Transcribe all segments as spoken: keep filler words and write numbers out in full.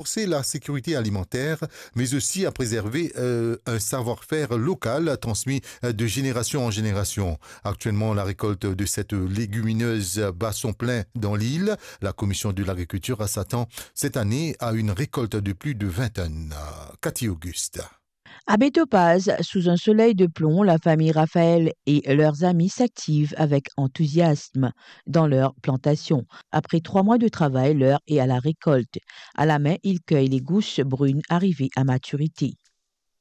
renforcer la sécurité alimentaire, mais aussi à préserver, euh, un savoir-faire local transmis, euh, de génération en génération. Actuellement, la récolte de cette légumineuse bat son plein dans l'île. La commission de l'agriculture s'attend cette année à une récolte de plus de vingt tonnes. Cathy Auguste. Abbé Topaz, sous un soleil de plomb, la famille Raphaël et leurs amis s'activent avec enthousiasme dans leur plantation. Après trois mois de travail, l'heure est à la récolte. À la main, ils cueillent les gousses brunes arrivées à maturité.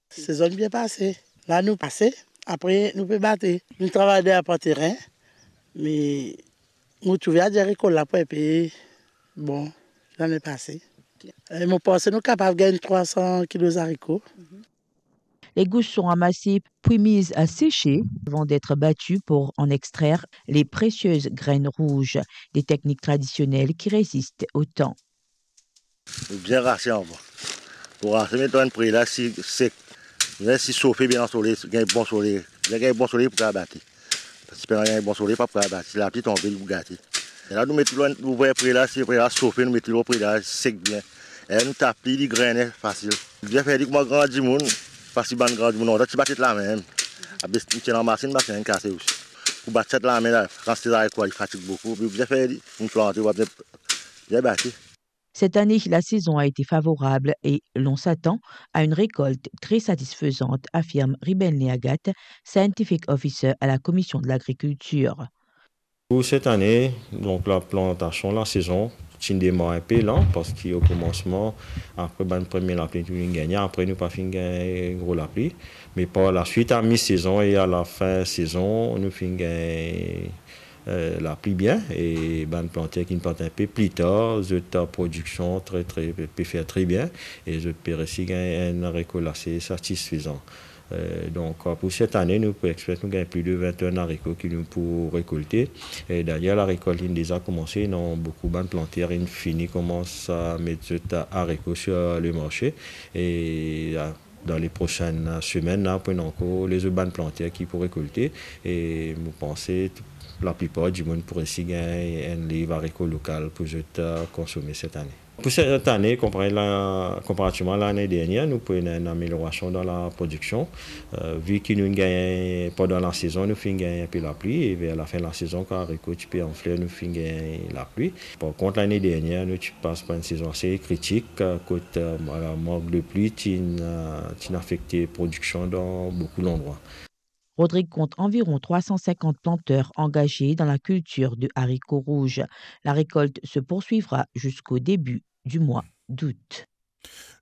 Sezon bien pase. La nou pase, apre nou pe bate. Nou travay deryer par terin, me mo trouve a dir rekol la pou enpe bon, lane pase. E mo panse nou kapav gagn trwa san kilo zariko. Les gousses sont ramassées puis mises à sécher avant d'être battues pour en extraire les précieuses graines rouges, des techniques traditionnelles qui résistent au temps. Bien rase anvan. Pou rase, met dan enn pre la, si sek. Bien, si sofe bien dan soley, gagn bon soley. Bien gagn bon soley pou kapav bate. Si pena gagn bon soley, pa pou kapav bate. Si lapli tonbe, li pou gate. E la, nou met li lor, nou ouver pre la, si pre la sofe, nou met li lor pre la, sek bien. E nou tap li, li grene fasil. Li bien fer li kouma gran dimoun, parski bann gran dimoun lontan ti bat zot lame mem. Apre, nou ti ena masinn, masinn inn kase osi. Pou bat zot lame la, kantite zariko, li fatig boukou. Li bien fer li, nou plante, ou pa bien, bien bate. Cette année, la saison a été favorable et l'on s'attend à une récolte très satisfaisante, affirme Ribenley Agathe, Scientific Officer à la Commission de l'Agriculture. Pou set ane, donk, laplantasion, lasezon, ti demar enpe lan, parski o koumansman, apre bann premie lapli nou finn gagne, apre nou pa finn gagn gro lapli. Me par laswit, a mi-sezon e a lafin sezon, nou finn gagn, eh, lapli bien, e bann planter ki'nn plant enpe pli tar, zot, eh, prodiksion tre, tre, pe fer tre bien, e zot pe resi gagn enn rekol ase satisfezan. Eh, donk, eh, pou set ane, nou pe expect nou gagn pli de vin tonn zariko ki nou pou rekolte. E dayer, larekolt inn deza koumanse, ena boukou bann planter inn fini koumans a met zot zariko sur le marse. E, eh, dan le prosenn semenn la, pou ena ankor lezot bann planter ki pou rekolte. E mo panse laplipar dimoun pou resi gagn enn liv zariko lokal pou zot, eh, konsome set ane. Pou set ane, konpare la, konparativman lane dernier, nou pou ena enn ameliorasion dan laprodiksion. Eh, vi ki nou gagn pandan lasezon, nou finn gagn enpe lapli, e ver lafin lasezon, kan zariko ti pe an fler, nou finn gagn lapli. Par kont, lane dernier, nou ti pas par enn sezon ase kritik, eh, kot, eh, la mank de pli ti, eh, ti afekte prodiksion dan boukou landrwa. Rodrig compte environ trois cent cinquante planteurs engagés dans la culture de haricots rouges. La récolte se poursuivra jusqu'au début du mois d'août.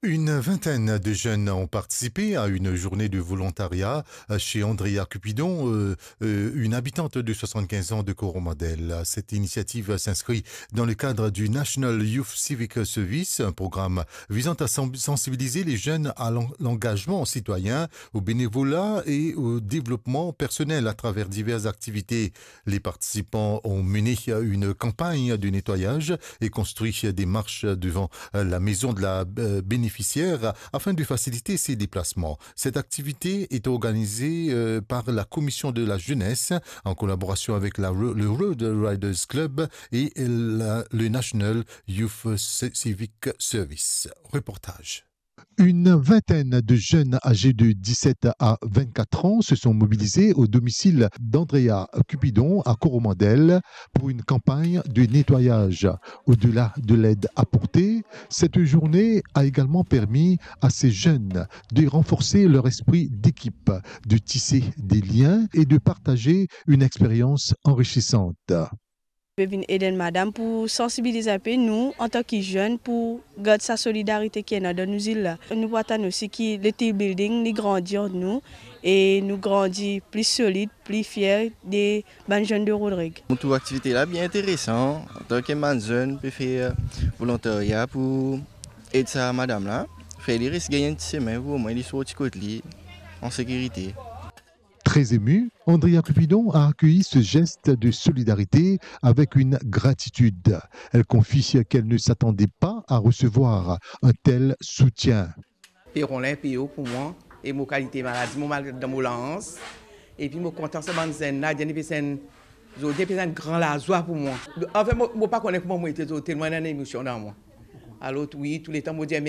Une vingtaine de jeunes ont participé à une journée de volontariat chez Andrea Cupidon, euh, euh, une habitante de soixante-quinze ans de Coromandel. Cette initiative s'inscrit dans le cadre du National Youth Civic Service, un programme visant à sen-, sensibiliser les jeunes à l'en-, l'engagement citoyen, au bénévolat et au développement personnel à travers diverses activités. Les participants ont mené une campagne de nettoyage et construit des marches devant la maison de la, euh, bénéficiaire afin de faciliter ses déplacements. Cette activité est organisée, euh, par la Commission de la Jeunesse en collaboration avec la Ro-, le Road Riders Club et la, le National Youth Civic Service. Reportage. Une vingtaine de jeunes âgés de dix-sept à vingt-quatre ans se sont mobilisés au domicile d'Andrea Cupidon à Coromandel pour une campagne de nettoyage. Au-delà de l'aide apportée, cette journée a également permis à ces jeunes de renforcer leur esprit d'équipe, de tisser des liens et de partager une expérience enrichissante. Pe vinn ed enn madam pou sansibiliz inpe nou, antan ki zenn, pou gard sa solidarite ki ena dan nou zil la. Nou pou atann osi ki le team building, li grandi ant nou, e nou grandi pli solid, pli fier de bann zenn de Rodrig. Mo trouv aktivite la bien interesan, antan ki bann zenn pe fer volontarya pou ed sa madam la, fer li res gagn enn ti semin pou omwin li sorti kot li an sekirite. Très émue, Andrea Cupidon a accueilli ce geste de solidarité avec une gratitude. Elle confie qu'elle ne s'attendait pas à recevoir un tel soutien. Pe rod enn P O pou mwa, e mo kalite maladi, mo mal dan mo lans. Epi mo kontan sa bann zenn la, zenn pe santi, zenn pe santi gran lazwa pou mwa. Anfin, mo, mo pa kone kouma mo ete, telman ena emosion dan mwa. Alor, wi, touletan mo dir,